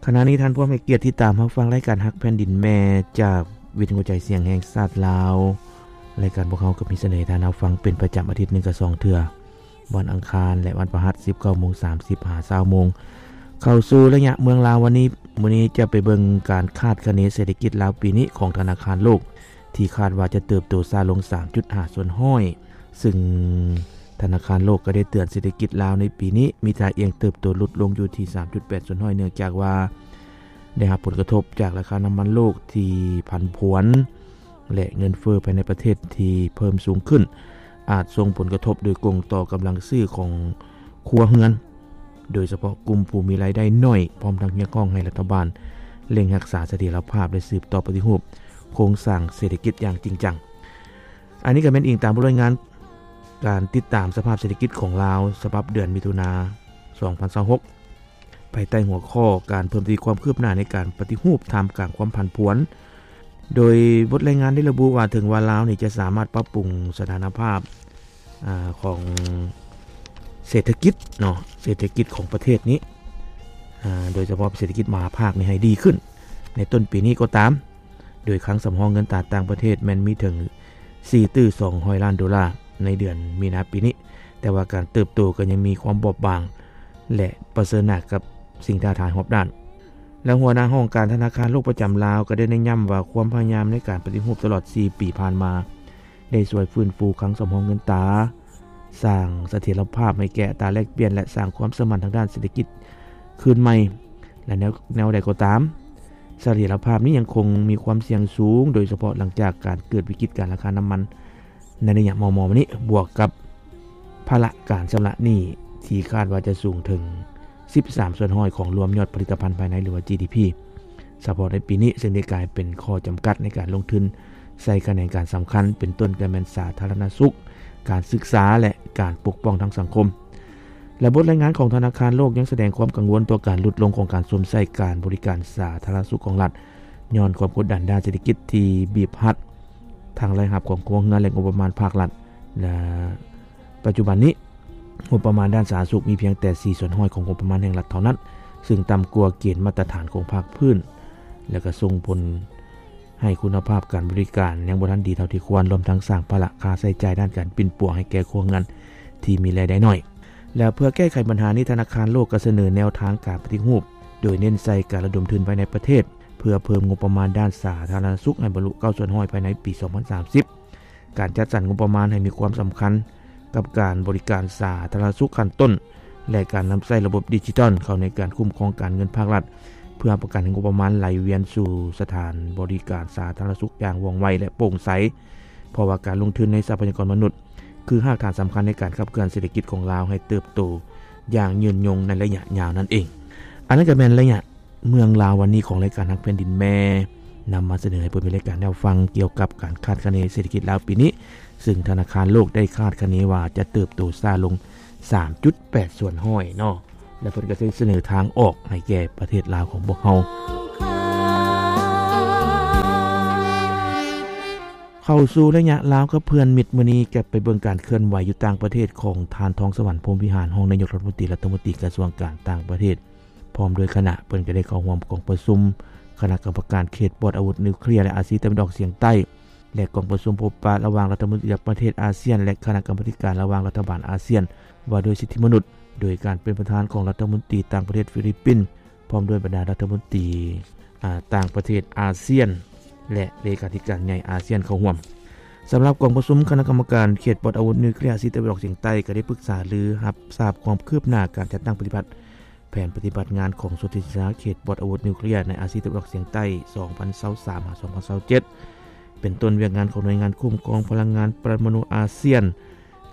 ຂະນະນີ້ທ່ານພວມໃຫ້ກຽດຕິດຕາມຮັບຟັງລາຍການຮັກແຜ່ນດິນແມ່ ຈາກວິທຍຸກະຈາຍສຽງແຫ່ງຊາດລາວ. ລາຍການພວກເຮົາກໍມີສະເໜີໃຫ້ທ່ານຮັບຟັງເປັນປະຈຳອາທິດໜຶ່ງກະສອງເທື່ອ ວັນອັງຄານ ແລະ ວັນພະຫັດ ສິບເກົ້າໂມງສາມສິບ ຫາ ຊາວໂມງ. ເຂົ້າສູ່ໄລຍະເມືອງລາວວັນນີ້, ມື້ນີ້ຈະໄປເບິ່ງການຄາດຄະເນເສດຖະກິດລາວປີນີ້ຂອງທະນາຄານໂລກ ທີ່ຄາດວ່າຈະເຕີບໂຕຊ້າລົງ ສາມຈຸດຫ້າສ່ວນຮ້ອຍ, ຊຶ່ງທະນາຄານໂລກກໍໄດ້ເຕືອນເສດຖະກິດລາວໃນປີນີ້ມີທ່າອ່ຽງເຕີບໂຕຫຼຸດລົງຢູ່ທີ່ ສາມຈຸດແປດສ່ວນຮ້ອຍ ເນື່ອງຈາກວ່າໄດ້ຮັບຜົນກະທົບຈາກລາຄານ້ຳມັນໂລກທີ່ຜັນຜວນ ແລະ ເງິນເຟີ້ພາຍໃນປະເທດທີ່ເພີ່ມສູງຂຶ້ນ ອາດສົ່ງຜົນກະທົບໂດຍກົງຕໍ່ກຳລັງຊື້ຂອງຄົວເຮືອນ, ໂດຍສະເພາະກຸ່ມຜູ້ມີລາຍໄດ້ໜ້ອຍ, ພ້ອມທັງຮຽກຮ້ອງໃຫ້ລັດຖະບານເລັ່ງຮັກສາສະຖຽນລະພາບ ແລະ ສືບຕໍ່ປະຕິຮູບໂຄງສ້າງເສດຖະກິດຢ່າງຈິງຈັງ. ອັນນີ້ກໍແມ່ນອີງຕາມບົດລາຍງານການຕິດຕາມສະພາບເສດຖະກິດຂອງລາວ ສະບັບເດືອນມິຖຸນາ ສອງພັນຊາວຫົກ ພາຍໃຕ້ຫົວຂໍ້ການເພີ່ມທະວີຄວາມຄືບໜ້າໃນການປະຕິຮູບທ່າມກາງຄວາມຜັນຜວນ. ໂດຍບົດລາຍງານໄດ້ລະບຸວ່າ ເຖິງວ່າລາວນີ້ຈະສາມາດປັບປຸງສະຖານະພາບ ອາ ຂອງເສດຖະກິດເນາະ, ເສດຖະກິດຂອງປະເທດນີ້ ອາ ໂດຍສະເພາະເສດຖະກິດມະຫາພາກນີ້ໃຫ້ດີຂຶ້ນໃນຕົ້ນປີນີ້ກໍຕາມ, ໂດຍຄັງສຳຮອງເງິນຕາຕ່າງປະເທດແມ່ນມີເຖິງສີ່ຕື້ສອງຮ້ອຍລ້ານໂດລາໃນເດືອນມີນາປີນີ້, ແຕ່ວ່າການເຕີບໂຕກໍຍັງມີຄວາມບອບບາງ ແລະ ປະເຊີນໜ້າກັບສິ່ງທ້າທາຍຮອບດ້ານ. ແລະ ຫົວໜ້າຫ້ອງການທະນາຄານໂລກປະຈຳລາວກໍໄດ້ເນັ້ນຢ້ຳວ່າ ຄວາມພະຍາຍາມໃນການປະຕິຮູບຕະຫຼອດສີ່ປີຜ່ານມາ ໄດ້ຊ່ວຍຟື້ນຟູຄັງສຳຮອງເງິນຕາ, ສ້າງສະຖຽນລະພາບໃຫ້ແກ່ອັດຕາແລກປ່ຽນ ແລະ ສ້າງຄວາມເຊື່ອໝັ້ນທາງດ້ານເສດຖະກິດຄືນໃໝ່. ແລະ ແນວ ແນວໃດກໍຕາມ, ສະຖຽນລະພາບນີ້ຍັງຄົງມີຄວາມສ່ຽງສູງ, ໂດຍສະເພາະຫຼັງຈາກການເກີດວິກິດການລາຄານ້ຳມັນໃນໄລຍະມໍ່ໆມານີ້, ບວກກັບພາລະການຊຳລະໜີ້ທີ່ຄາດວ່າຈະສູງເຖິງສິບສາມສ່ວນຮ້ອຍຂອງລວມຍອດຜະລິດຕະພັນພາຍໃນ ຫຼືວ່າ ຈີດີພີ ສະເພາະໃນປີນີ້, ເຊິ່ງໄດ້ກາຍເປັນຂໍ້ຈຳກັດໃນການລົງທຶນໃສ່ຂະແໜງການສຳຄັນ ເປັນຕົ້ນກໍແມ່ນສາທາລະນະສຸກ, ການສຶກສາ ແລະ ການປົກປ້ອງທາງສັງຄົມ. ແລະ ບົດລາຍງານຂອງທະນາຄານໂລກຍັງສະແດງຄວາມກັງວົນຕໍ່ການຫຼຸດລົງຂອງການຊົມໃຊ້ການບໍລິການສາທາລະນະສຸກຂອງລັດ ຍ້ອນຄວາມກົດດັນດ້ານເສດຖະກິດທີ່ບີບຮັດທັງລາຍຮັບຂອງຄົວເຮືອນ ແລະ ງົບປະມານພາກລັດ. ແລະ ປັດຈຸບັນນີ້, ງົບປະມານດ້ານສາທາລະນະສຸກມີພຽງແຕ່ສີ່ສ່ວນຮ້ອຍຂອງງົບປະມານແຫ່ງລັດເທົ່ານັ້ນ, ຊຶ່ງຕ່ຳກວ່າເກນມາດຕະຖານຂອງພາກພື້ນ ແລະ ກໍສົ່ງຜົນໃຫ້ຄຸນນະພາບການບໍລິການຍັງບໍ່ທັນດີເທົ່າທີ່ຄວນ, ລວມທັງສ້າງພາລະຄ່າໃຊ້ຈ່າຍດ້ານການປິ່ນປົວໃຫ້ແກ່ຄົວເຮືອນທີ່ມີລາຍໄດ້ໜ້ອຍ. ແລະ ເພື່ອແກ້ໄຂບັນຫານີ້, ທະນາຄານໂລກກໍສະເໜີແນວທາງການປະຕິຮູບ, ໂດຍເນັ້ນໃສ່ການລະດົມທຶນພາຍໃນປະເທດ ເພື່ອເພີ່ມງົບປະມານດ້ານສາທາລະນະສຸກໃຫ້ບັນລຸເກົ້າສ່ວນຮ້ອຍພາຍໃນປີສອງພັນສາມສິບ. ການຈັດສັນງົບປະມານໃຫ້ມີຄວາມສຳຄັນກັບການບໍລິການສາທາລະນະສຸກຂັ້ນຕົ້ນ ແລະ ການນຳໃຊ້ລະບົບດິຈິຕອນເຂົ້າໃນການຄຸ້ມຄອງການເງິນພາກລັດ ເພື່ອຮັບປະກັນໃຫ້ງົບປະມານໄຫຼວຽນສູ່ສະຖານບໍລິການສາທາລະນະສຸກຢ່າງວ່ອງໄວ ແລະ ໂປ່ງໃສ, ເພາະວ່າການລົງທຶນໃນຊັບພະຍາກອນມະນຸດ ຄືຮາກຖານສຳຄັນໃນການຂັບເຄື່ອນເສດຖະກິດຂອງລາວໃຫ້ເຕີບໂຕຢ່າງຍືນຍົງໃນໄລຍະຍາວນັ້ນເອງ. ອັນນັ້ນກໍແມ່ນໄລຍະ ເມືອງລາວວັນນີ້ຂອງລາຍການຮັກແຜ່ນດິນແມ່ ນຳມາສະເໜີໃຫ້ຜູ້ເບິ່ງລາຍການໄດ້ຮັບຟັງກ່ຽວກັບການຄາດຄະເນເສດຖະກິດລາວປີນີ້, ຊຶ່ງທະນາຄານໂລກໄດ້ຄາດຄະເນວ່າຈະເຕີບໂຕຊ້າລົງສາມຈຸດແປດສ່ວນຮ້ອຍເນາະ, ແລະ ເພິ່ນກໍໄດ້ສະເໜີທາງອອກໃຫ້ແກ່ປະເທດລາວຂອງພວກເຮົາ. ເຂົ້າສູ່ໄລຍະລາວກັບເພື່ອນມິດ, ມື້ນີ້ຈະໄປເບິ່ງການເຄື່ອນໄຫວຢູ່ຕ່າງປະເທດຂອງທ່ານ ທອງສະຫວັນ ພົມວິຫານ ຮອງນາຍົກລັດຖະມົນຕີ, ລັດຖະມົນຕີກະຊວງການຕ່າງປະເທດ ພ້ອມດ້ວຍຄະນະ. ເພິ່ນກໍໄດ້ເຂົ້າຮ່ວມກອງປະຊຸມຄະນະກຳມະການເຂດປອດອາວຸດນິວເຄລຍ ແລະ ອາຊີຕາເວັນອອກສຽງໃຕ້ ແລະ ກອງປະຊຸມພົບປະລະຫວ່າງລັດຖະມົນຕີຕ່າງປະເທດອາຊຽນ ແລະ ຄະນະກຳມາທິການລະຫວ່າງລັດຖະບານອາຊຽນວ່າດ້ວຍສິດທິມະນຸດ, ໂດຍການເປັນປະທານຂອງລັດຖະມົນຕີຕ່າງປະເທດຟີລິບປິນ ພ້ອມດ້ວຍບັນດາລັດຖະມົນຕີ ອາ ຕ່າງປະເທດອາຊຽນ ແລະ ເລຂາທິການໃຫຍ່ອາຊຽນເຂົ້າຮ່ວມ. ສຳລັບກອງປະຊຸມຄະນະກຳມະການເຂດປອດອາວຸດນິວເຄລຍອາຊີຕາເວັນອອກສຽງໃຕ້ ກໍໄດ້ປຶກສາລືຮັບຊາບຄວາມຄືບໜ້າການຈັດຕັ້ງປະຕິບັດ ແຜນປະຕິບັດງານຂອງສົນທິສັນຍາເຂດປອດອາວຸດນິວເຄລຍໃນອາຊີຕາເວັນອອກສຽງໃຕ້ ສອງພັນຊາວສາມ ຫາ ສອງພັນຊາວເຈັດ ເປັນຕົ້ນວຽກງານຂອງໜ່ວຍງານຄຸ້ມຄອງພະລັງງານປະລະມະນູອາຊຽນ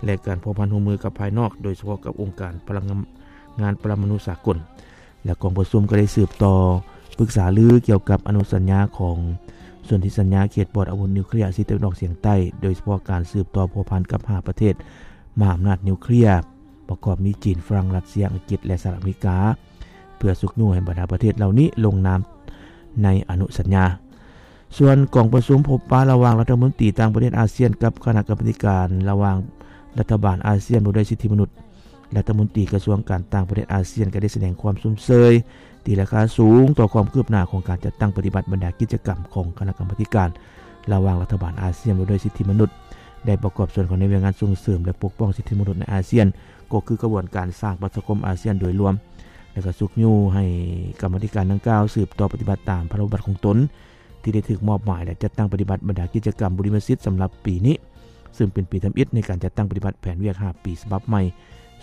ແລະ ການພົວພັນຮ່ວມມືກັບພາຍນອກ, ໂດຍສະເພາະກັບອົງການພະລັງງານປະລະມະນູສາກົນ. ແລະ ກອງປະຊຸມກໍໄດ້ສືບຕໍ່ປຶກສາລືກ່ຽວກັບອະນຸສັນຍາຂອງສົນທິສັນຍາເຂດປອດອາວຸດນິວເຄລຍອາຊີຕາເວັນອອກສຽງໃຕ້, ໂດຍສະເພາະການສືບຕໍ່ພົວພັນກັບຫ້າປະເທດມະຫາອຳນາດນິວເຄລຍ ປະກອບມີຈີນ, ຝຣັ່ງ, ຣັດເຊຍ, ອັງກິດ ແລະ ສະຫະລັດອາເມລິກາ ເພື່ອຊຸກຍູ້ໃຫ້ບັນດາປະເທດເຫຼົ່ານີ້ລົງນາມໃນອະນຸສັນຍາ. ສ່ວນກອງປະຊຸມພົບປະລະຫວ່າງລັດຖະມົນຕີຕ່າງປະເທດອາຊຽນກັບຄະນະກຳມາທິການລະຫວ່າງລັດຖະບານອາຊຽນວ່າດ້ວຍສິດທິມະນຸດ, ລັດຖະມົນຕີກະຊວງການຕ່າງປະເທດອາຊຽນກໍໄດ້ສະແດງຄວາມຊົມເຊີຍ ຕີລາຄາສູງຕໍ່ຄວາມຄືບໜ້າຂອງການຈັດຕັ້ງປະຕິບັດບັນດາກິດຈະກຳຂອງຄະນະກຳມາທິການລະຫວ່າງລັດຖະບານອາຊຽນວ່າດ້ວຍສິດທິມະນຸດ ໄດ້ປະກອບສ່ວນເຂົ້າໃນວຽກງານສົ່ງເສີມ ແລະ ປົກປ້ອງສິດທິມະນຸດໃນອາຊຽນ ກໍຄືຂະບວນການສ້າງປະຊາຄົມອາຊຽນໂດຍລວມ ແລະ ກໍຊຸກຍູ້ໃຫ້ກຳມາທິການດັ່ງກ່າວສືບຕໍ່ປະຕິບັດຕາມພາລະບົດຂອງຕົນ ທີ່ໄດ້ຖືກມອບໝາຍ ແລະ ຈັດຕັ້ງປະຕິບັດບັນດາກິດຈະກຳບຸລິມະສິດສຳລັບປີນີ້ ຊຶ່ງເປັນປີທຳອິດໃນການຈັດຕັ້ງປະຕິບັດແຜນວຽກຫ້າປີສະບັບໃໝ່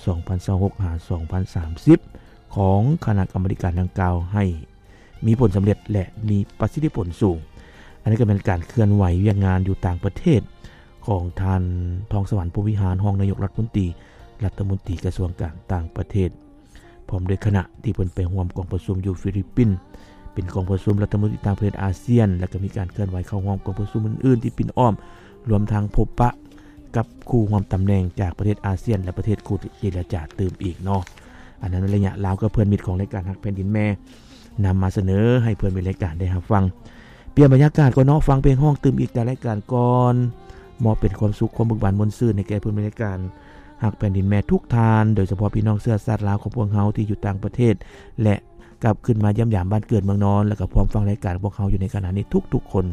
ສອງພັນຊາວຫົກ ຫາ ສອງພັນສາມສິບ ຂອງຄະນະກຳມາທິການດັ່ງກ່າວໃຫ້ມີຜົນສຳເລັດ ແລະ ມີປະສິດທິຜົນສູງ. ອັນນີ້ກໍແມ່ນການເຄື່ອນໄຫວວຽກງານຢູ່ຕ່າງປະເທດຂອງທ່ານ ທອງສະຫວັນ ພົມວິຫານ ຮອງນາຍົກລັດຖະມົນຕີ ລັດຖະມົນຕີກະຊວງການຕ່າງປະເທດ ພ້ອມດ້ວຍຄະນະທີ່ເພິ່ນໄປຮ່ວມກອງປະຊຸມຢູ່ຟີລິບປິນ ເປັນກອງປະຊຸມລັດຖະມົນຕີຕ່າງປະເທດອາຊຽນ ແລະ ກໍມີການເຄື່ອນໄຫວເຂົ້າຮ່ວມກອງປະຊຸມອື່ນໆທີ່ປິ່ນອ້ອມ ລວມທັງພົບປະກັບຄູ່ຮ່ວມຕຳແໜ່ງຈາກປະເທດອາຊຽນ ແລະ ປະເທດຄູ່ເຈລະຈາຕື່ມອີກເນາະ. ອັນນັ້ນໃນໄລຍະລາວກັບເພື່ອນມິດຂອງລາຍການຮັກແຜ່ນດິນແມ່ ນຳມາສະເໜີໃຫ້ເພື່ອນມິດລາຍການໄດ້ຮັບຟັງ. ປ່ຽນບັນຍາກາດກ່ອນເນາະ, ຟັງເພງຮ້ອງຕື່ມອີກຈາກລາຍການກ່ອນ ມອບເປັນຄວາມສຸກຄວາມເບີກບານມ່ວນຊື່ນໃຫ້ແກ່ເພື່ອນມິດລາຍການຮັກແຜ່ນດິນແມ່ທຸກທ່ານ ໂດຍສະເພາະພີ່ນ້ອງເຊື້ອຊາດລາວຂອງພວກເຮົາທີ່ຢູ່ຕ່າງປະເທດ ແລະ ກັບຄືນມາຢ້ຽມຢາມບ້ານເກີດເມືອງນອນ ແລະ ກໍພ້ອມຟັງລາຍການຂອງພວກເຮົາຢູ່ໃນຂະນະນີ້ທຸກໆຄົນ.